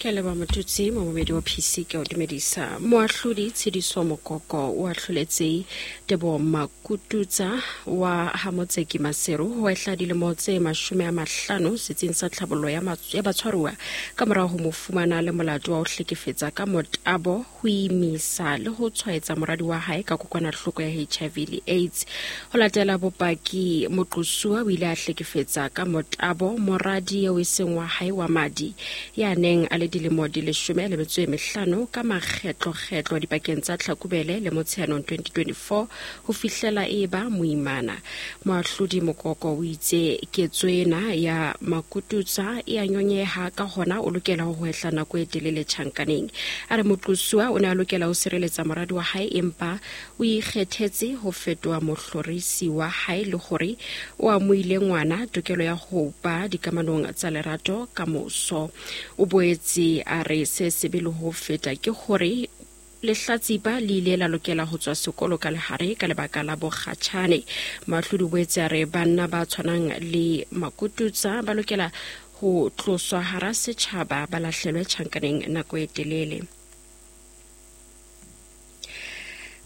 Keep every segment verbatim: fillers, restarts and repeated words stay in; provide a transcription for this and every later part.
Ke a leboha Motutsi, momamedi wa P C, ke o dumedisa. Moahlodi Tshediso Mokoko o ahloletse Tebo Makututsa wa ha Motseki Maseru ho ehla dilemo tse mashome a mahlano setsing sa tlhabollo ya ya batshwaruwa ka morao ho mo fumana le molato wa ho hlekefetsa ka motabo, ho imisa le ho tshwaetsa moradi wa hae ka kokwanahloko ya H I V le AIDS. Ho latela bopaki, moqosuwa o ile a hlekefetsa ka motabo moradi eo e seng wa hae wa madi ya neng a le dilemo di leshome le metso e mehlano ka makgetlokgetlo dipakeng tsa Tlhakubele le Motsheanong twenty twenty-four ho fihlela e ba moimana. Moahlodi Mokoko o itse ketso ena ya Makututsa e a nyonyeha, ka hona o lokela ho hwehla nako e telele tjhankaneng. A re moqosuwa o ne a lokela ho sireletsa moradi wa hae, empa o ikgethetse ho fetoha mohlorisi wa hae, le hore o amohile ngwana tokelo ya ho ba dikamanong tsa lerato ka moso. O boetse a re se sebe le ho feta ke hore lehlatsipa le ile la lokela ho tswa sekolo ka lehare ka lebaka la bokgatjhane. Moahlodi o boetse a re banna ba tshwanang le Makututsa ba lokela ho tloswa hara setjhaba, ba lahlelwe tjhankaneng nako e telele.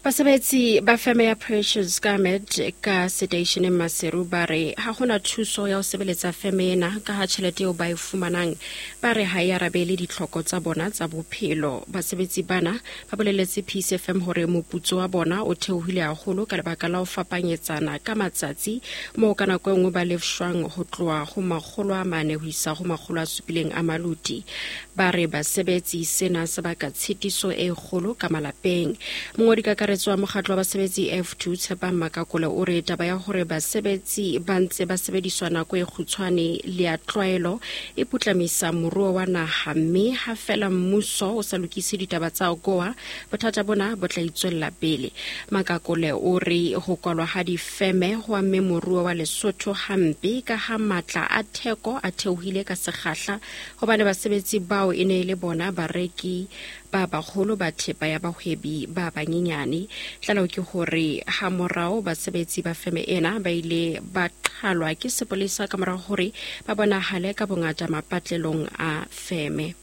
Basebetsi ba feme ya Precious Garment ka seteisheneng Maseru ba re ha hona thuso ya ho sebeletsa feme ena, ka ha tjhelete eo ba e fumanang ba re ha e arabele ditlhoko tsa bona tsa bophelo. Basebetsi bana ba boleletse P C F M hore moputso wa bona o theohile haholo ka lebaka la ho fapanyetsana ka matsatsi, moo ka nako e nngwe ba lefshwang ho tloha ho makgolo a mane ho isa ho makgolo a supileng a maluti. Ba re basebetsi sena se baka tshitiso e kgolo ka malapeng. Mongodi kakaretso wa mokgatlo wa basebetsi F two, Tshepang Makakole, o re taba ya hore basebetsi ba ntse ba sebediswa nako e kgutshwane le ya tlwaelo e putlamisa moruo wa naha, mme ha fela mmuso o sa lokise ditaba tsa A G O A, bothata bona bo tla itswella pele. Makakole o re ho kwalwa ha difeme ho amme moruo wa Lesotho hampe, ka ha matla a theko a theohile ka sekgahla, hobane basebetsi bao e ne e le bona bareki ba baholo ba thepa ya bahwebi ba banyenyane. Tlaleho ke hore ha morao basebetsi ba feme ena ba ile ba qhalwa ke sepolesa ka morao hore ba bonahale ka bongata mapatlelong a feme.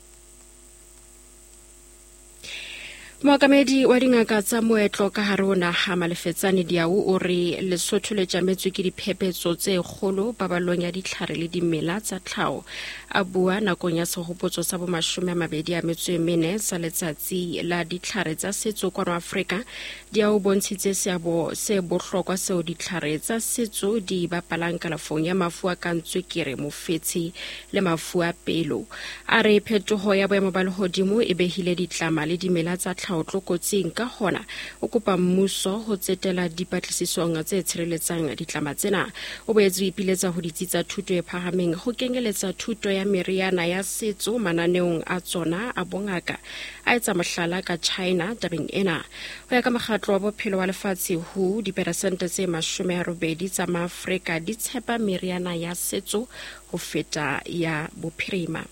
Mookamedi wa dingaka tsa moetlo ka hare ho naha, Malefetsane Diau, o re Lesotho le tjametswe ke diphephetso tse kgolo paballong ya ditlhare le dimela tsa tlhaho. A bua nakong ya sehopotso sa bomashome a mabedi a metso e mene sa Letsatsi la Ditlhare tsa Setso kwano Afrika, Diau bontshitse seabo se bohlokwa seo ditlhare tsa setso di bapalang kalafong ya mafu a kang tswekere, mofetshe le mafu a pelo. A re phetoho ya boemo ba lehodimo e behile ditlama le dimela tsa tlhaho tlokotsing, ka hona o kopa mmuso ho tsetela dipatlisisong tse tshireletsang ditlama tsena. O boetse o ipiletsa ho ditsi tsa thuto e phahameng ho kenyeletsa thuto ya meriana ya setso mananeong a tsona a bongaka, a etsa mohlala ka China tabeng ena. Ho ya ka Mokgatlo wa Bophelo wa Lefatshe, W H O, diperesente tse mashome a robedi tsa Maafrika di tshepa meriana ya setso ho feta ya bophirima.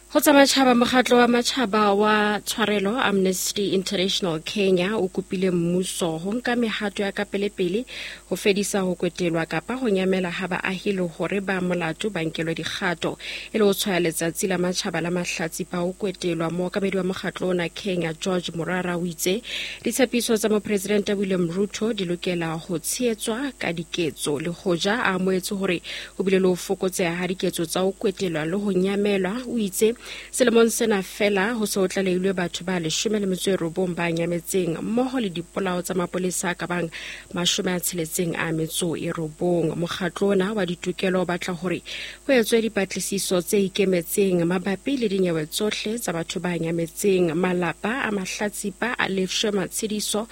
Ho tsa matjhaba, mokgatlo wa matjhaba wa tshwarelo Amnesty International Kenya o kopile mmuso ho nka mehato ya kapelepele ho fedisa ho kwetelwa kapa ho nyamela ha baahi, le hore ba molato ba nkelwe dikgato. E le ho tshwaya Letsatsi la Matjhaba la Mahlatsipa ho Kwetelwa, mookamedi wa mokgatlo ona Kenya, George Morara, o itse ditshepiso tsa mopresidente William Ruto di lokela ho tshehetswa ka diketso. Le hoja a amohetse hore ho bile le ho fokotseha ha diketso tsa ho kwetelwa le ho nyamelwa, o itse selemong sena fela ho se ho tlalehilwe batho ba leshome le metso e robong ba nyametseng, mmoho le dipolao tsa mapolesa a ka bang mashome a tsheletseng a metso e robong. Mokgatlo ona wa ditokelo o batla hore ho etswe dipatlisiso tse ikemetseng mabapi le dinyewe tsohle tsa batho ba nyametseng, malapa a mahlatsipa a lefshwe matshediso,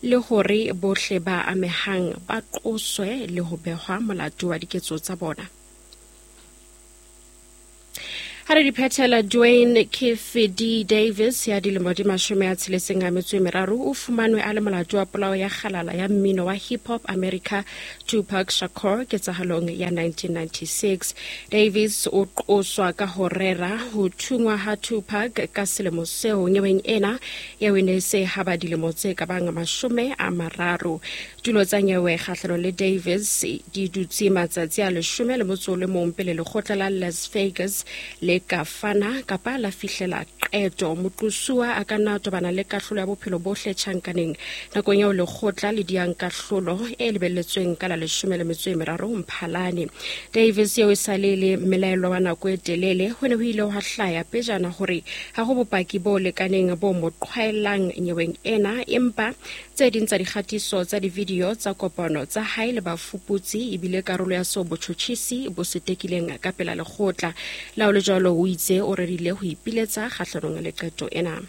le hore bohle ba amehang ba qoswe le ho behwa molato wa diketso tsa bona. Ha re di phethela, Dwayne Keith D Davis ya dilemo di mashome a tsheletseng a metso e meraro o fumanwe a le molato wa polao ya kgalala ya mmino wa hip hop America Tupac Shakur ketsahalong ya nineteen ninety-six. Davis o qoswa ka ho rera ho thungwa ha Tupac ka selemo seo. Nyeweng ena eo e ne se haba dilemo tse ka bang mashome a mararo. Tulo tsa nyewe kgahlanong le Davis di dutse matsatsi a leshome le motso o le mong pele lekgotla la Las Vegas le ka fana kapa la fihlela qeto. Moqosuwa a ka nna tobana le kahlolo ya bophelo bohle tjhankaneng nakong eo lekgotla le diang kahlolo e lebelletsweng ka la leshome le metso e meraro Mphalane. Davis eo e sa le le mmelaelwa wa nako e telele, ho ne ho ile hwa hlaya pejana hore ha ho bopaki bo lekaneng bo mo qhwaellang nyeweng ena, empa tse ding tsa dikgatiso tsa di-video tsa kopano tsa hae le bafuputsi ebile karolo ya seo botjhotjhisi bo se tekileng ka pela lekgotla. Le ha ho le jwalo, o itse o rerile ho ipiletsa kgahlanong le qeto ena.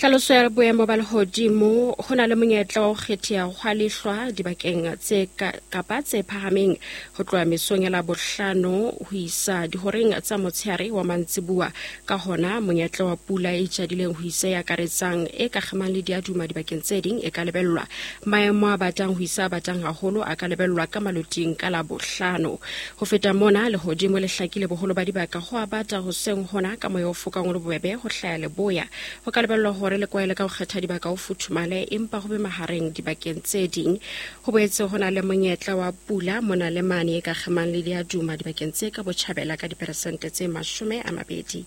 Tlhaloso ya boemo ba lehodimo, ho na le monyetla wa ho kgetheha hwa lehlwa dibakeng tse kapa tse phahameng ho tloha mesong ya Labohlano ho isa dihoreng tsa motshehare wa mantsibuwa. Ka hona, monyetla wa pula e tjadileng ho isa e akaretsang e ka kgemang le diaduma dibakeng tse ding e ka lebellwa. Maemo a batang ho isa a batang haholo a ka lebellwa ka maloting ka Labohlano. Ho feta mona, lehodimo le hlakile boholo ba dibaka ho a bata hoseng hona ka moya o fokang o le bobebe ho hlaya leboya. Ho ka lebellwa hore le kwaele ka ho kgetha dibaka ho futhumale empa ho be mahareng dibakeng tse ding. Ho boetse ho na le monyetla wa pula mona le mane e ka kgemang le diaduma dibakeng tse ka botjhabela ka diperesente tse mashome a mabedi.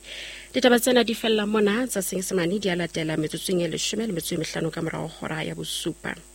Ditaba tsena di fella mona tsa Senyesemane di a latela metsotsong e leshome le metso e mehlano ka morao hora ya bosupa.